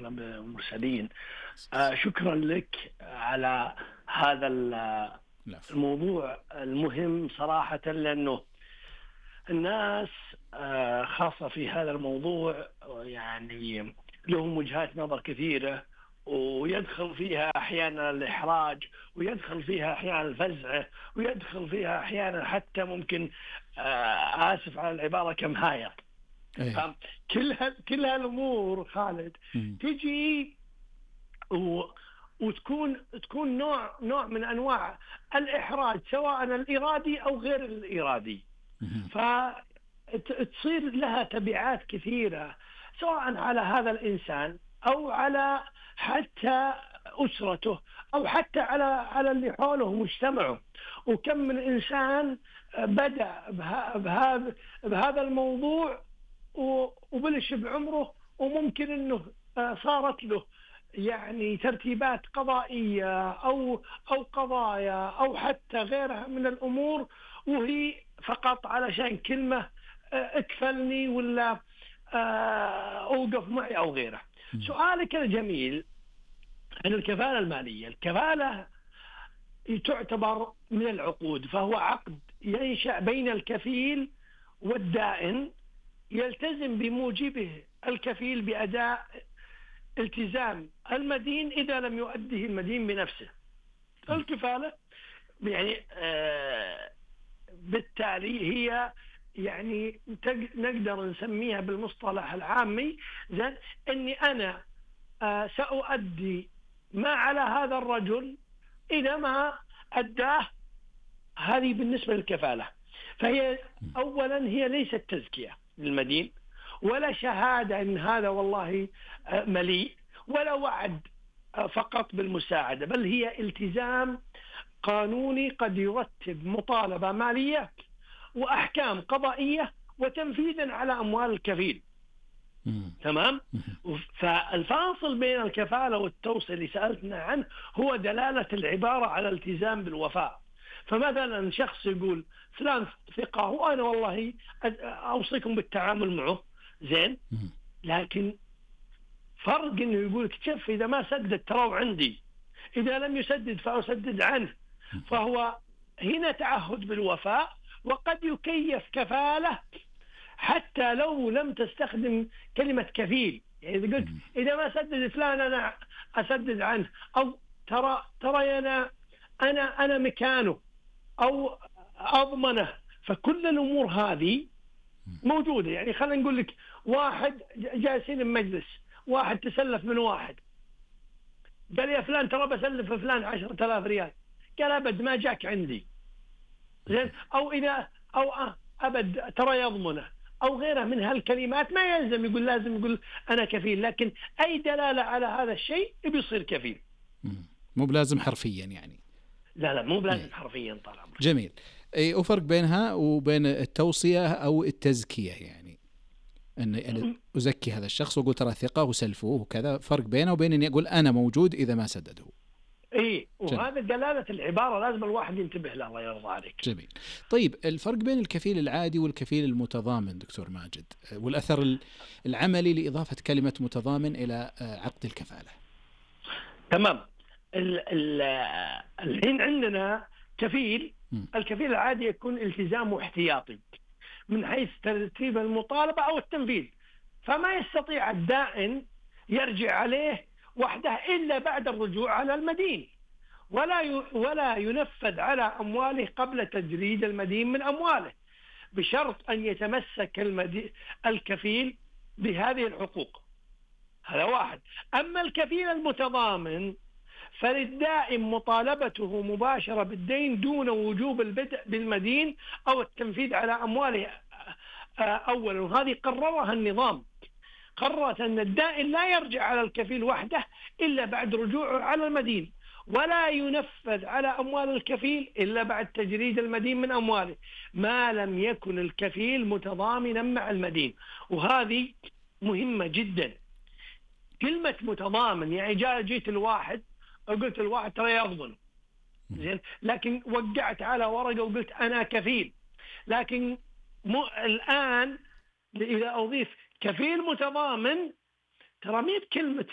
وأشرف المرسلين. شكرا لك على هذا الموضوع المهم صراحة، لأنه الناس خاصة في هذا الموضوع يعني لهم وجهات نظر كثيرة، ويدخل فيها أحيانا الإحراج، ويدخل فيها أحيانا الفزع، ويدخل فيها أحيانا حتى ممكن آسف على العبارة كمهاية. كل هالأمور خالد تجي وتكون نوع من أنواع الإحراج، سواء الإرادي أو غير الإرادي، فتصير لها تبعات كثيرة سواء على هذا الإنسان أو على حتى أسرته أو حتى على اللي حوله مجتمعه. وكم من إنسان بدأ بهذا الموضوع وبلش بعمره، وممكن أنه صارت له يعني ترتيبات قضائية أو قضايا أو حتى غيرها من الأمور، وهي فقط علشان كلمة اكفلني ولا أوقف معي أو غيره. سؤالك الجميل عن الكفالة المالية. الكفالة تعتبر من العقود، فهو عقد ينشأ بين الكفيل والدائن، يلتزم بموجبه الكفيل بأداء التزام المدين إذا لم يؤده المدين بنفسه. الكفالة يعني بالتالي هي يعني نقدر نسميها بالمصطلح العامي زين أني أنا سأؤدي ما على هذا الرجل إذا ما أداه. هذه بالنسبة للكفالة. فهي أولا هي ليست تزكية للمدين، ولا شهادة أن هذا والله مليء، ولا وعد فقط بالمساعدة، بل هي التزام قانوني قد يرتب مطالبة مالية وأحكام قضائية وتنفيذا على أموال الكفيل. تمام. فالفاصل بين الكفالة والتوصية اللي سألتنا عنه هو دلالة العبارة على التزام بالوفاء. فمثلا شخص يقول فلان ثقة وأنا والله أوصيكم بالتعامل معه زين، لكن فرق إنه يقول شوف إذا ما سدد ترى عندي، إذا لم يسدد فأسدد عنه. فهو هنا تعهد بالوفاء، وقد يكيف كفالة حتى لو لم تستخدم كلمة كفيل. يعني إذا قلت إذا ما سدد فلان أنا أسدد عنه، أو ترى أنا مكانه أو أضمنه. فكل الأمور هذه موجودة. يعني خلينا نقول لك واحد جالسين بمجلس، واحد تسلف من واحد، قال يا فلان ترى بسلف فلان 10,000 ريال، قال أبد ما جاك عندي زين، أو إذا أبد ترى يضمنه أو غيره من هالكلمات. ما يلزم يقول لازم يقول أنا كفيل، لكن أي دلالة على هذا الشيء بيصير كفيل. مو بلازم حرفيا يعني. لا مو بلازم حرفيا. طال عمرك. جميل. وفرق بينها وبين التوصية أو التزكية، يعني أن أزكي هذا الشخص وأقول ترى ثقة وسلفوه وكذا، فرق بينه وبين أني أقول أنا موجود إذا ما سدده. وهذا دلالة العبارة لازم الواحد ينتبه له. الله يرضى عليك. جميل. طيب الفرق بين الكفيل العادي والكفيل المتضامن دكتور ماجد، والأثر العملي لإضافة كلمة متضامن إلى عقد الكفالة. تمام. الحين عندنا كفيل. الكفيل العادي يكون التزام احتياطي من حيث ترتيب المطالبة أو التنفيذ، فما يستطيع الدائن يرجع عليه وحده إلا بعد الرجوع على المدين، ولا ينفذ على أمواله قبل تجريد المدين من أمواله، بشرط أن يتمسك الكفيل بهذه الحقوق. هذا واحد. أما الكفيل المتضامن فللدائن مطالبته مباشرة بالدين دون وجوب البدء بالمدين أو التنفيذ على أمواله أولا. وهذه قررها النظام. قررت أن الدائن لا يرجع على الكفيل وحده إلا بعد رجوعه على المدين، ولا ينفذ على أموال الكفيل إلا بعد تجريد المدين من أمواله، ما لم يكن الكفيل متضامنا مع المدين. وهذه مهمة جدا. كلمة متضامن يعني جيت الواحد وقلت الواحد ترى يضمن زين، لكن وقعت على ورقة وقلت أنا كفيل. لكن الآن إذا أضيف كفيل متضامن ترى مي بكلمة